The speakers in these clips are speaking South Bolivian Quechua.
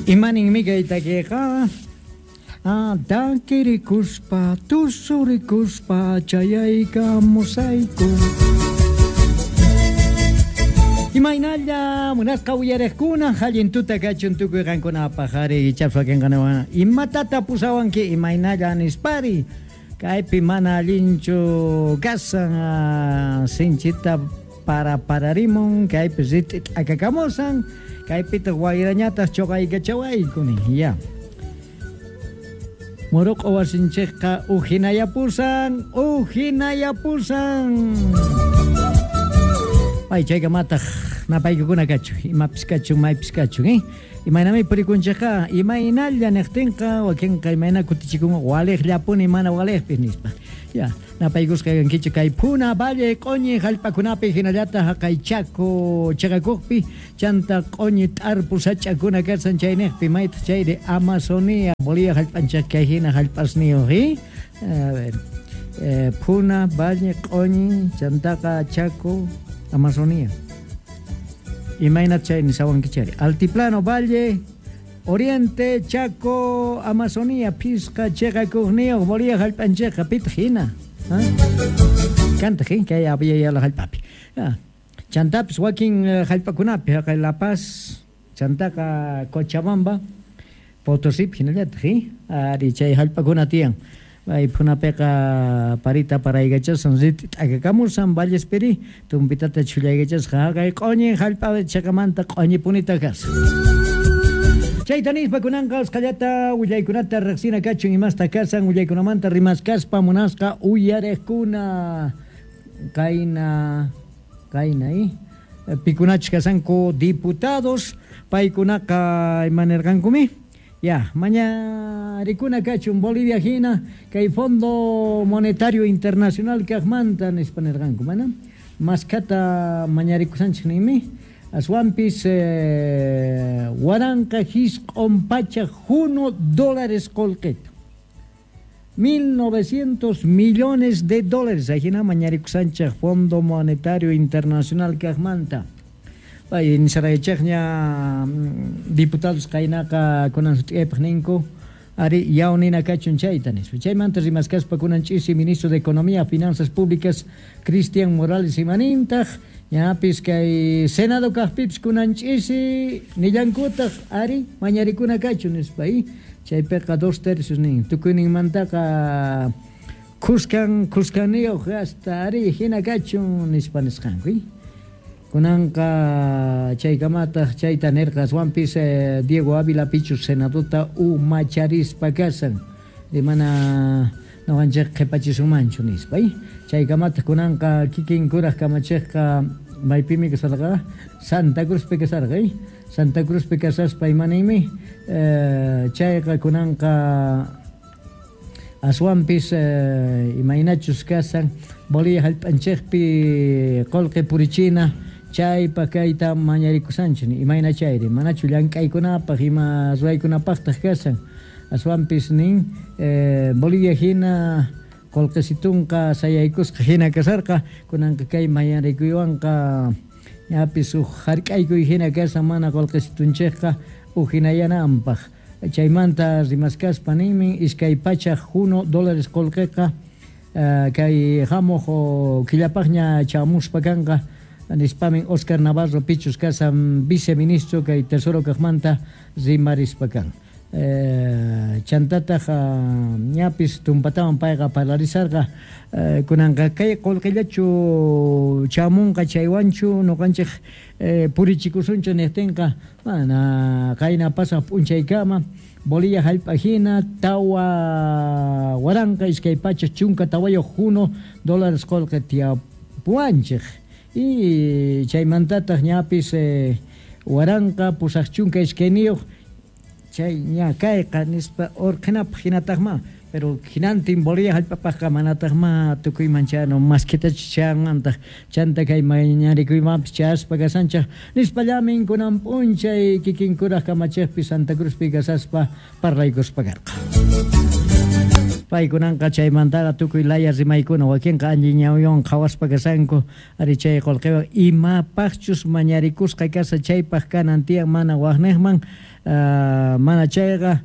Imaninmi kay takiqa? Takirikuspa, tusurikuspa chayaykamusayku. Imaynalla munasqa uyarejkuna, allin tuta kachun tukuy qankunapaj ari ichapas wakinqa imatata pusawanki imaynalla nispari. Kaypi mana allinchu kasan, sinchita para pararimun, kaypi rit'i t'akakamusan, kaypitaq wayrañataq choqaykachawayku nin. Ya. Muruq'u wasinchikqa ujinayapusan, ujinayapusan. Ay, chaykamataq napaykukuna kachun, imapis kachun, maypis kachun, eh? Imaynami purikunchikqa, imaynalla niqtinqa, wakinqa imayna kutichikunqa, waliqllapuni mana waliqpis nispa. Ya, napaykusqa kankichik kay Puna Valle q'oñi hallp'akunapi hinallataq haqay Chaco chiqakuqpi, chanta q'oñi t'arpu sach'akuna kasan chayniqpi, maytaq chayri Amazonía, Bolivia hallp'anchik kay hina hallp'asniyuq, eh? A ver, Puna Valle q'oñi, chantaqa Chaco, Amazonía. Imaynat chay nisawankichari? Altiplano, Valle, Oriente, Chaco, Amazonía, phisqa chiqakuqniyuq Bolivia hallp'anchikqa pitaq hina? Kantaq, eh? Kay Abya Yala hallp'api. Chantapis wakin hallp'akunapi, haqay La Paz, chantaqa Cochabamba, Potosípi hinallataq, eh? Ari chay hallp'akuna tiyan. Ay phunapiqa parita paraykachashan, rit'i t'akakamushan, vallespiri tumpitata chhullaykachasqa, haqay q'oñi hallp'a chiqamanta q'oñipunita kashan. Chayta nispa kunanqa usqhallata willaykunata riqsina kachun imasta kasan willaykunamanta rimaskaspa munasqa uyarejkuna qayna qayna eh? Pikunachus kasanku diputados paykunaqa ima nirqankumi? Ya, mañarikuna kachun Bolivia hina kay Fondo Monetario Internacional kaqmanta nispa nirqanku, mana maskhata mañarikushanchik ninmi, aswanpis 1901 dólares qullqita. 1900 millones de dólares ajina mañarikushanchik Fondo Monetario Internacional kaqmanta. Pay nisaraychikña diputados qaynaqa kunan sut'iyaypaq ninku, ari yaw nina kachun chayta nispa. Chaymanta rimaskaspa kunan ch'isi ministro de Economía, Finanzas Públicas Cristian Morales imanintaq, ñapis kay Senado kaqpipis kunan ch'isi nillankutaq ari mañarikuna kachun nispa. Chaypiqa dos tercios nin, tukuyninmantaqa khuskan khuskaniyuq hasta ari hina kachun nispa nisqanku. Kunanqa chaykamataq chayta nirqa aswanpis Diego Ávila pichus Senadota umacharispa kasan, mana noqanchik qhipachisunmanchu nispa. Chaykamataq kunanqa kikin kuraq kamachiqqa maypimi kasarqa? Santa Cruzpi kasarqa. Santa Cruzpi kasaspa imaninmi chayqa kunanqa aswanpis imaynachus kasan Bolivia hallp'anchikpi qullqi purichina chaypaq kayta mañarikusanchik imayna chayri manachu llank'aykunapaq ima ruwaykunapaqtaq kasan aswanpis nin Bolivia hina qullqisitunqa sayaykusqa hina kasarqa kunanqa kay mañarikuywanqa ñapis uj hark'aykuy hina kasan mana qullqisitunchikqa ujinayananpaq. Chaymanta rimaskaspa ninmi 201 dólares qullqiqa kay hamuq killapaqña chamuspa kanqa nispamin Oscar Navarro pichus kasan viceministro kay Tesoro kaqmanta rimarispa kan. Chantataq ñapis tumpatawan payqa parlarisarqa kunanqa kay qullqillachu chamunqa chaywanchu noqanchik purichikusunchu niqtinqa mana qayna pasaq p'unchaykama Bolivia hallp'a hina 4214 dólares qullqi tiyapuwanchik y chaymantataq ñapis 1082 chay ña kayqa nispa urqhinapaq hinataqma pero hinantin Bolivia hallp'apaqqa manataqma tukuyman chayanu maskhitachu chayanmantaq chanta kay mañarikuymanpis chayaspa kasanchik nispallamin kunan p'unchay kikin kuraq kamachiqpi Santa Cruzpi kasaspa parlaykuspa karqa. Paykunanqa chaymantaqa tukuy laya rimaykuna, wakinqa allin ñawiwan qhawaspa kashanku, ari chay qolqewan imapajchus mañarikusqa kasha chaypaj kanan tiyan, mana wajnejman, mana chayqa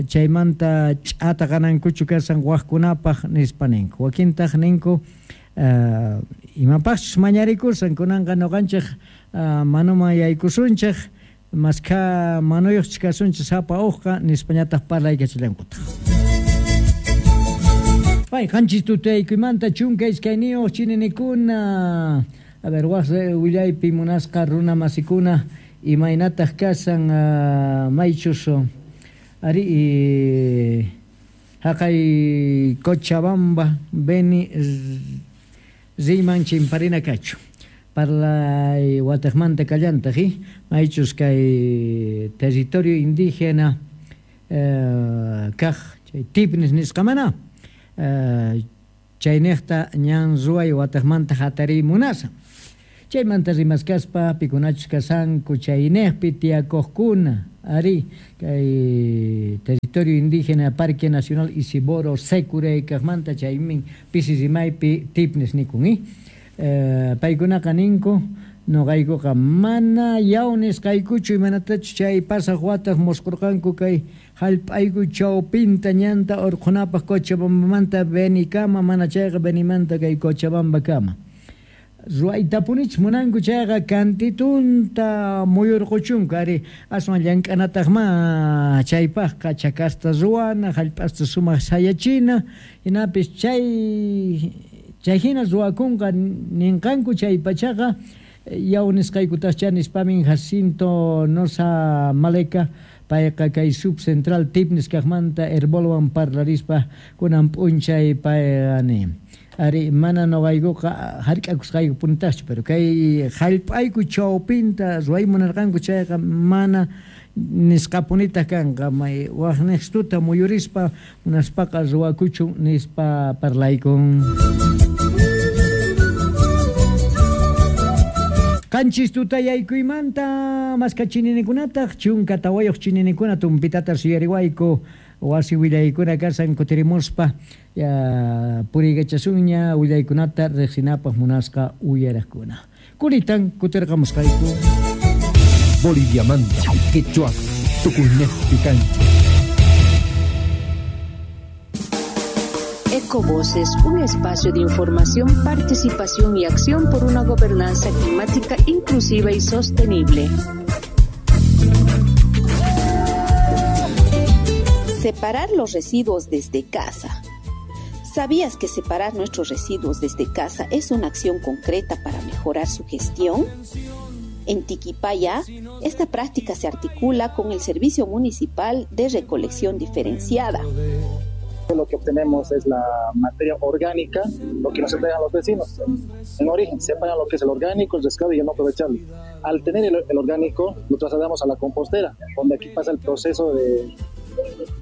chaymanta ch'ata qanankuchu kashan wajkunapaj nispa ninku. Wakintaj ninku imapajchus mañarikushan, kunanqa noqanchej manuman yaykusunchej, maskha manuyojchus kasunchej sapa ujqa nispañataj parlaykachallankutaj. Pay 7 tutaykuymanta 12 chininikuna. A ver, waj willaypi munasqa runa masikuna imaynataj kashan maychus ari haqay Cochabamba Beni riyman chimparina kachu. Parlay watejmanta kallantaj, maychus kay territorio indígena kaj chay Tipnis nisqamana chaynejta ñan ruway watejmanta hatariy munashan. Chaymanta rimaskaspa pikunachus kashanku chaynejpi tiyakojkuna ari kay territorio indígena Parque Nacional Isiboro Sécure kajmanta chaymin pisi rimaypi Tipnis nikun. Paykunaqa ninku noqaykuqa mana yaw nisqaykuchu imanatachus chay pasaq wataq mosqurqanku kay hallp'ayku chawpinta ñanta urqhunapaq Cochabambamanta Benikama, mana chayqa Benimanta kay Cochabambakama. Ruwaytapunich munanku chayqa kantitunta muyurquchunku ari aswan llank'anataqma chaypaqqa chakasta ruwana, hallp'asta sumaq sayachina, hinapis chay hina ruwakunqa ninqanku chay pachaqa yaw nisqaykutaqcha nispamin Jacinto Nosa Maleka payqa kay subcentral Tipnis kaqmanta Herbolwan parlarispa kunan p'unchay payqa nin. Ari mana noqaykuqa hark'akusqayku punitaqchu, pero kay hallp'ayku chawpinta ruway munarqanku chayqa mana nisqapunitaq kanqa, may waqniqstuta muyurispa munaspaqa ruwakuchun nispa parlaykun. 7 tutayaykuymanta maska chininikunataq 14 chininikuna tumpitata suyariwayku wasi willaykuna kashan kutirimuspa puriykachasunña willaykunata riqsinapaq munasqa uyaraqkuna. Kulitan kutirqamusqayku. Boliviamanta, Quechua, tukuynejpi kanchik. Ecovoces, un espacio de información, participación y acción por una gobernanza climática inclusiva y sostenible. Separar los residuos desde casa. ¿Sabías que separar nuestros residuos desde casa es una acción concreta para mejorar su gestión? En Tiquipaya, esta práctica se articula con el Servicio Municipal de Recolección Diferenciada. Lo que obtenemos es la materia orgánica, lo que nos entregan los vecinos. En origen, separan lo que es el orgánico, el reciclado y el no aprovechable. Al tener el orgánico, lo trasladamos a la compostera, donde aquí pasa el proceso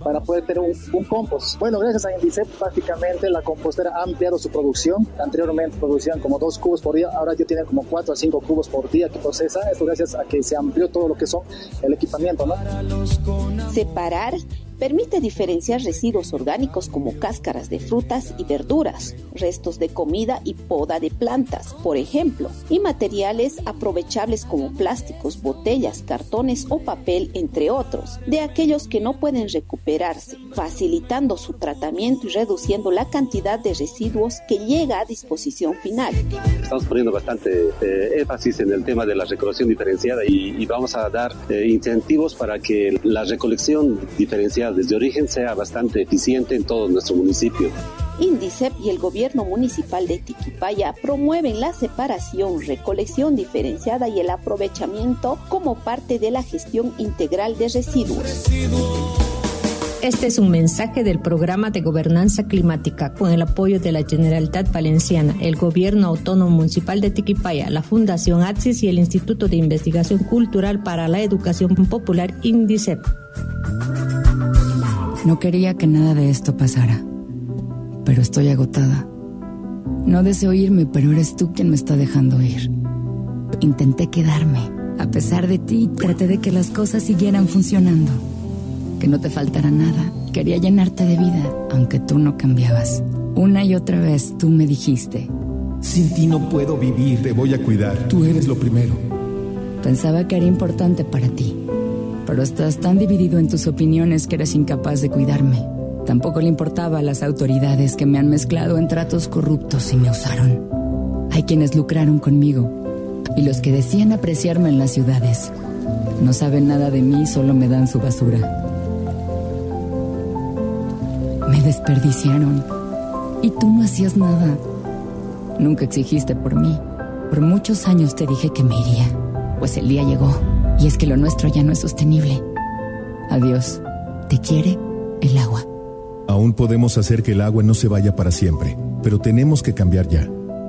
para poder tener un compost. Bueno, gracias a Indicep, prácticamente la compostera ha ampliado su producción. Anteriormente producían como 2 cubos por día, ahora ya tienen como 4 a 5 cubos por día que procesa. Esto gracias a que se amplió todo lo que son el equipamiento, ¿no? Separar permite diferenciar residuos orgánicos como cáscaras de frutas y verduras, restos de comida y poda de plantas, por ejemplo, y materiales aprovechables como plásticos, botellas, cartones o papel, entre otros, de aquellos que no pueden recuperarse, facilitando su tratamiento y reduciendo la cantidad de residuos que llega a disposición final. Estamos poniendo bastante énfasis en el tema de la recolección diferenciada y vamos a dar incentivos para que la recolección diferenciada desde origen sea bastante eficiente en todo nuestro municipio. Indicep y el gobierno municipal de Tiquipaya promueven la separación, recolección diferenciada y el aprovechamiento como parte de la gestión integral de residuos. Este es un mensaje del Programa de Gobernanza Climática con el apoyo de la Generalitat Valenciana, el Gobierno Autónomo Municipal de Tiquipaya, la Fundación ATSIS y el Instituto de Investigación Cultural para la Educación Popular Indicep. No quería que nada de esto pasara, pero estoy agotada. No deseo irme, pero eres tú quien me está dejando ir. Intenté quedarme. A pesar de ti, traté de que las cosas siguieran funcionando. Que no te faltara nada, que Quería llenarte de vida, aunque tú no cambiabas. Una y otra vez tú me dijiste: Sin ti no puedo vivir. Te voy a cuidar. Tú eres lo primero. Pensaba que era importante para ti, pero estás tan dividido en tus opiniones que eres incapaz de cuidarme. Tampoco le importaba a las autoridades que me han mezclado en tratos corruptos y me usaron. Hay quienes lucraron conmigo y los que decían apreciarme en las ciudades. No saben nada de mí, solo me dan su basura. Me desperdiciaron y tú no hacías nada. Nunca exigiste por mí. Por muchos años te dije que me iría. Pues el día llegó y es que lo nuestro ya no es sostenible. Adiós. Te quiere el agua. Aún podemos hacer que el agua no se vaya para siempre, pero tenemos que cambiar ya.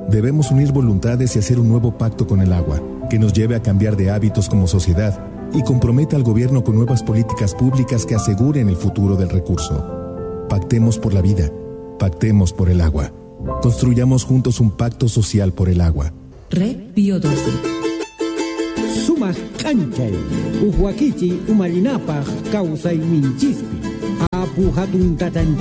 Debemos unir voluntades y hacer un nuevo pacto con el agua, que nos lleve a cambiar de hábitos como sociedad y comprometa al gobierno con nuevas políticas públicas que aseguren el futuro del recurso. Pactemos por la vida, pactemos por el agua. Construyamos juntos un pacto social por el agua. Red Bio 12. Sumaq k'anchay, uj wakichiy umallinapaq kawsayninchispi. Apu hatun tatanchispa.